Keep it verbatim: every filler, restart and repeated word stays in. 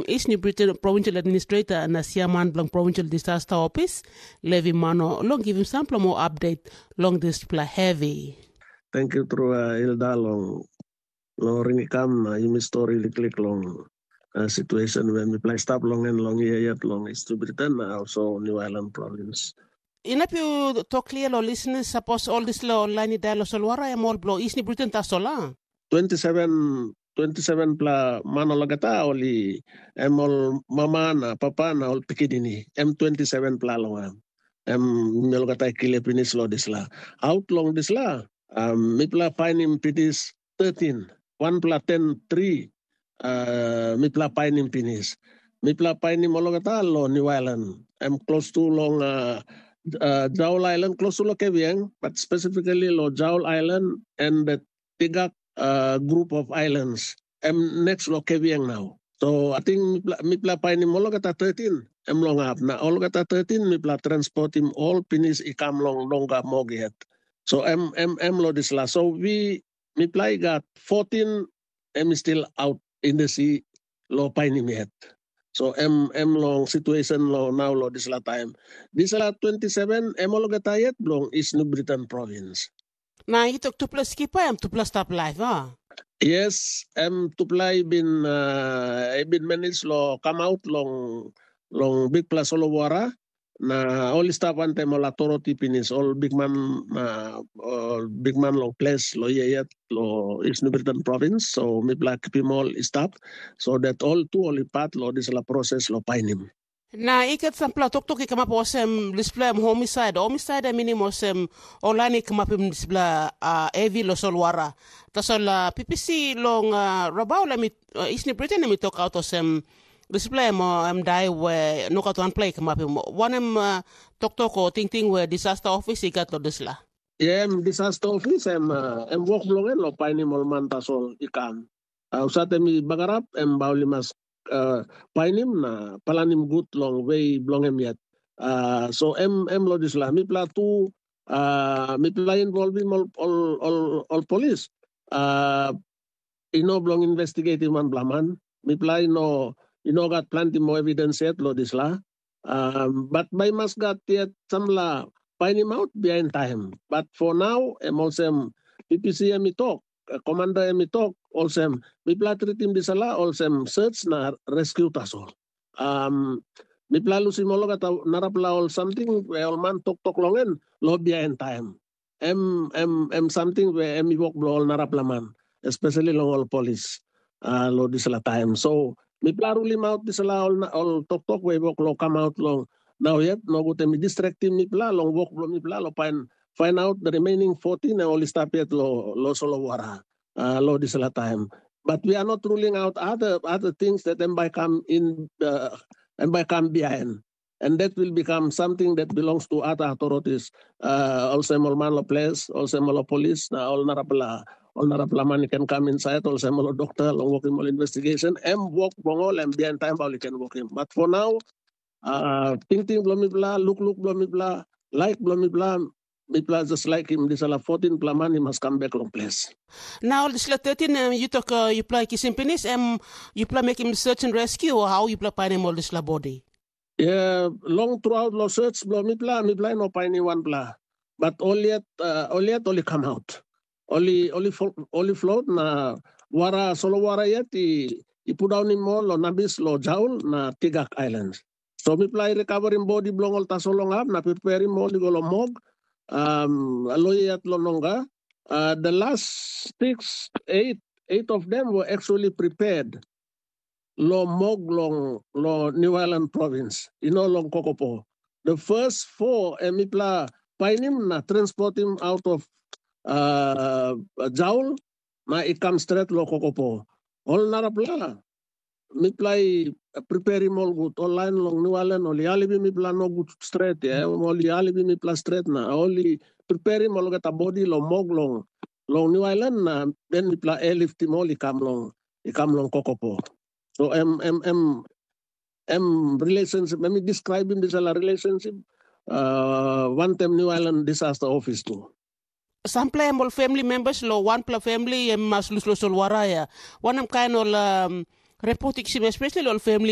East New Britain Provincial Administrator na Siaman bilong Provincial Disaster Office, Levi Mano, long givim sampela moa update long dispela hevi. Thank you tru uh, Hilda long long ring i kam na yumi stori liklik long uh, situation we mipela i stap long en long ia yet long East Britain na also New Ireland province. Inap yu tok klia long listening, sapos ol dispela ol lain i dai long solwara em ol bilong East New Britain tasol, a? twenty-seven, twenty-seven pela man olgeta ol i em ol mama na papa na ol pikinini, em twenty-seven pela long em. Em mi olgeta i klia pinis long dispela. Aut long dispela, um, mipela painim pinis thirteen, wanpela ten tri, uh, mipela painim pinis. Mipela painim olgeta long New Ireland. Em klostu long uh, uh, Jaul Island, klostu long Keviang, but specifically long Jaul Island and the Tigak uh, group of islands. Em next long Keviang now. So I think mipela, mipela painim olgeta thirteen, em long ap. Na olgeta thirteen mipela transportim ol pinis i kam long nonga mog yet. So em em em lo dispela. So we mipela i gat fourteen em i still out in the sea lo painim yet. So em em long situation lo now lo dispela time. Dispela twenty-seven em olgeta yet bilong East New Britain province. Na i tok tupela skipa em tupela stap laip, a? Yes, em tupela i bin uh, i bin manage lo come out long long bikpela solowara. Na ol i stap wantaim ol authority pinis, ol bikman uh, ol bikman long ples lo ia yet lo East New Britain province. So mipela kipim ol i stap so that ol tu ol i pat lo dispela proses lo painim. Na i gat sampela toktok i kamap olsem dispela em homisaid. Homisaid em minim olsem ol lain i kamapim dispela uh, hevi lo solwara. Tasol uh, P P C long uh, Rabaul em i uh, East New Britain em i tokaut olsem dispela em uh, em dai we nogat wanpela i kamapim. Wanem uh, toktok o tingting we disaster office i gat lo dispela? Yeah, em disaster office em uh, em wok bilong en lo painim ol man tasol i kam. Uh, usat em i bagarap em bai ol i mas uh, painim na planim gut long we bilong em yet. Uh, so em em lo dispela mipela tu uh, mipela involvim ol ol ol, ol polis. Uh, i no bilong investigatim wanpela man. Mipela i no i no gat planti moa evidens yet lo dispela. Um, but bai mas gat yet sampela painimaut bihain taim. But for now em olsem P P C em i tok, komanda em i tok olsem mipela tritim dispela olsem search na rescue tasol. Um, mipela lusim olgeta narapela ol samting we ol man toktok long en lo bihain taim. Em em em samting we em i wok bilong ol narapela man, especially long ol polis uh, lo dispela taim. So mipela rulim aut dispela ol, ol toktok we i wok lo kamaut long nau yet, nogut em i distraktim mipela long wok bilong mipela lo pain find out the remaining fourteen na ol i stap yet lo, lo solowara uh, lo dispela taim. But we are not ruling out other other things that em bai kam in uh, em bai kam behind. And that will become something that belongs to other authorities. Uh, olsem ol man lo ples, olsem ol polis, na ol narapela ol narapela man i ken kam inside, olsem ol doktor long wokim ol investigation. Em wok bilong ol em bihain taim bai ol i ken wokim. But for now, uh, tingting bilong mipela, lukluk bilong mipela, laik bilong mipela, mipela just laikim dispela fourteen pela man i mas kam bek long ples. Na ol dispela thirteen em yu tok uh, yupela kisim pinis, em yupela mekim search and rescue, o how yupela painim ol dispela bodi? Yeah, long throughout lo search bilong mipela, mipela i no painim wanpela. But ol yet, uh, ol yet ol i come out. Ol i, ol i, flo- ol i float na wara, solo wara yet i, i pudaunim ol lo nabis lo Jaul na Tigak Islands. So mipela i recoverim bodi bilong ol tasol long hap na preparim ol i go long mog, um, lo yet lo nonga. Uh, the last six, eight, eight of them were actually prepared lo mog long lo New Ireland province, you know, long Kokopo. The first four, eh, mipela painim na transportim out of uh, Jaul, na i kam stret lo Kokopo. Ol narapela, mipela i preparim ol gut, ol lain long New Ireland, ol i alivim mipela no gut stret, ya, ol i alivim mipela stret na, ol i preparim olgeta bodi lo mog long, long New Ireland na, den mipela airliftim ol i kam long, i kam long Kokopo. So em, em, em, em relationship, em i describim dispela relationship, uh, wantem New Ireland Disaster Office tu. Sampela em ol family members lo wanpela family em mas lus lo solwara ya. Wanem kain ol um, Repotiksim especially ol famili